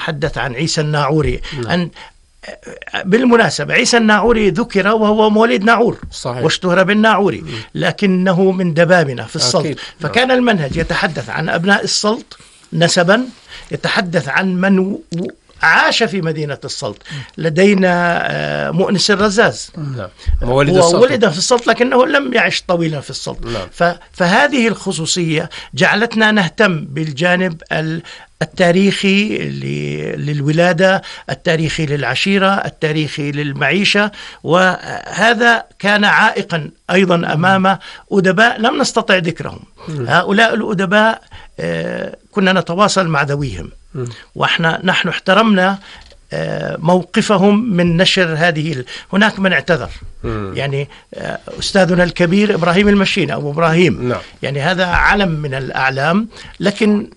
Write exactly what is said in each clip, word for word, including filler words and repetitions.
تحدث عن عيسى الناعوري. نعم. أن بالمناسبة عيسى الناعوري ذكر وهو مواليد ناعور. صحيح. واشتهر بالناعوري. م. لكنه من دبابنة في السلط. أكيد. فكان نعم. المنهج يتحدث عن أبناء السلط نسبا، يتحدث عن من عاش في مدينة السلط. لدينا مؤنس الرزاز. نعم. هو ولد في السلط لكنه لم يعش طويلا في السلط. نعم. فهذه الخصوصية جعلتنا نهتم بالجانب التاريخي للولادة، التاريخي للعشيرة، التاريخي للمعيشة، وهذا كان عائقا أيضا أمام أدباء لم نستطع ذكرهم. هؤلاء الأدباء كنا نتواصل مع ذويهم، وإحنا نحن احترمنا موقفهم من نشر هذه. هناك من اعتذر، يعني أستاذنا الكبير إبراهيم المشيني أو إبراهيم. نعم. يعني هذا علم من الأعلام، لكن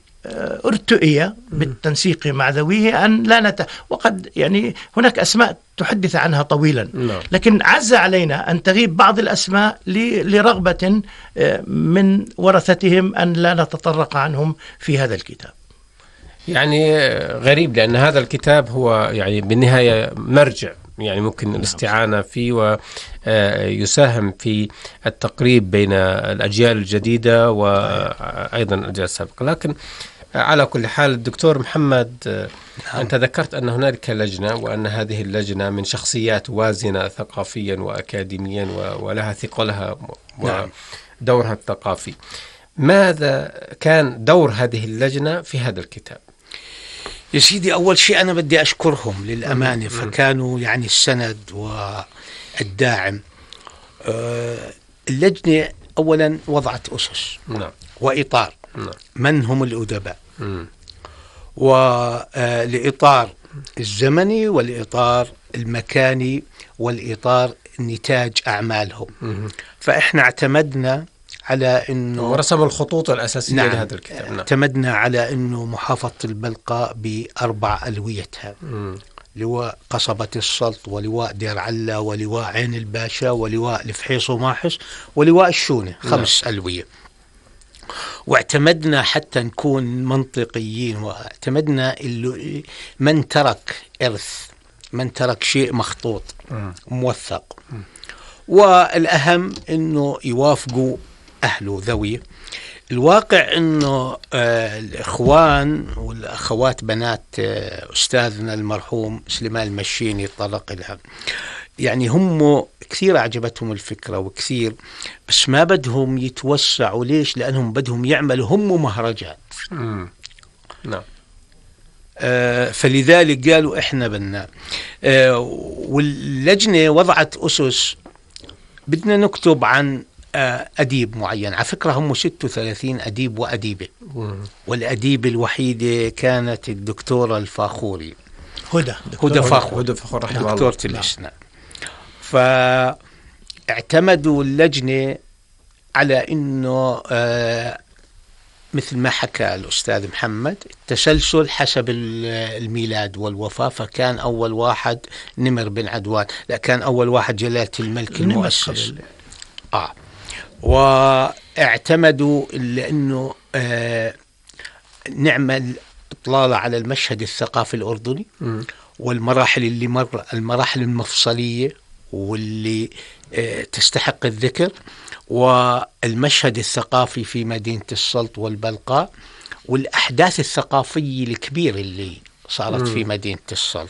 ارتئي بالتنسيق مع ذويه أن لا نت... وقد يعني هناك أسماء تحدث عنها طويلا. نعم. لكن عز علينا أن تغيب بعض الأسماء ل... لرغبة من ورثتهم أن لا نتطرق عنهم في هذا الكتاب. يعني غريب، لأن هذا الكتاب هو يعني بالنهاية مرجع، يعني ممكن الاستعانة فيه ويساهم في التقريب بين الأجيال الجديدة وأيضا الأجيال السابقة. لكن على كل حال الدكتور محمد، نعم. أنت ذكرت أن هنالك لجنة، وأن هذه اللجنة من شخصيات وازنة ثقافيا وأكاديميا ولها ثقلها ودورها الثقافي. ماذا كان دور هذه اللجنة في هذا الكتاب؟ يا سيدي، أول شيء أنا بدي أشكرهم للأمانة، فكانوا يعني السند والداعم. اللجنة أولا وضعت أسس. نعم. وإطار. نعم. من هم الأدباء، والإطار الزمني والإطار المكاني والإطار نتاج أعمالهم. م- فإحنا اعتمدنا على إنه ورسم الخطوط الأساسية. نعم. لهذا الكتاب. نعم. اعتمدنا على إنه محافظة البلقاء بأربع ألويتها، لواء قصبة السلط، ولواء دير علا، ولواء عين الباشا، ولواء الفحيص وماحس، ولواء الشونة. خمس. نعم. ألوية. واعتمدنا حتى نكون منطقيين، واعتمدنا اللي من ترك إرث، من ترك شيء مخطوط موثق، والأهم إنه يوافقوا أهله ذوي. الواقع إنه آه الإخوان والأخوات بنات آه أستاذنا المرحوم سليمان المشيني طرق لها، يعني هم كثير أعجبتهم الفكرة وكثير، بس ما بدهم يتوسعوا. ليش؟ لأنهم بدهم يعملوا هم مهرجان. نعم. آه فلذلك قالوا إحنا بدنا. آه واللجنة وضعت أسس، بدنا نكتب عن آه أديب معين. على فكرة هم ستة وثلاثين أديب وأديبة، والأديبة الوحيدة كانت الدكتورة الفاخوري هدى هدى فاخور هدى فاخور رحمه الله، دكتورة الأسنان. فاعتمدوا اللجنة على إنه آه مثل ما حكى الأستاذ محمد التسلسل حسب الميلاد والوفاة. فكان أول واحد نمر بن عدوان، لا كان أول واحد جلالة الملك المؤسس. آه واعتمدوا لأنه آه نعمل إطلالة على المشهد الثقافي الأردني م. والمراحل اللي مر المراحل المفصلية واللي آه تستحق الذكر، والمشهد الثقافي في مدينة السلط والبلقاء، والأحداث الثقافية الكبيرة اللي صارت م. في مدينة السلط.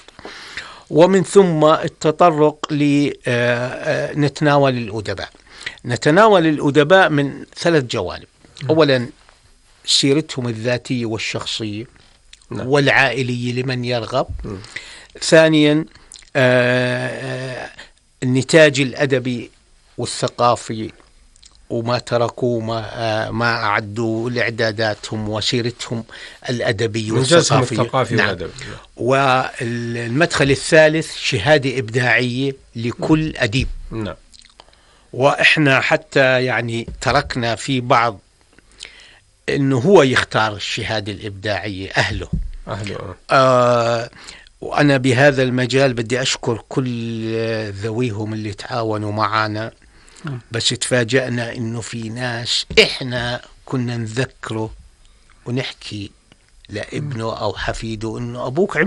ومن ثم التطرق لنتناول الأدباء. نتناول الأدباء من ثلاث جوانب. م. أولا سيرتهم الذاتية والشخصية م. والعائلية لمن يرغب. م. ثانيا آه النتاج الأدبي والثقافي، وما تركوا ما, آه ما أعدوا لإعداداتهم وسيرتهم الأدبية والثقافية. الثقافي نعم. والأدبي. والمدخل الثالث شهادة إبداعية لكل أديب. نعم. وإحنا حتى يعني تركنا في بعض إنه هو يختار الشهادة الإبداعية، أهله أهله آه وأنا بهذا المجال بدي أشكر كل ذويهم اللي تعاونوا معنا. بس تفاجأنا إنه في ناس إحنا كنا نذكره ونحكي لابنه أو حفيده إنه أبوك عمل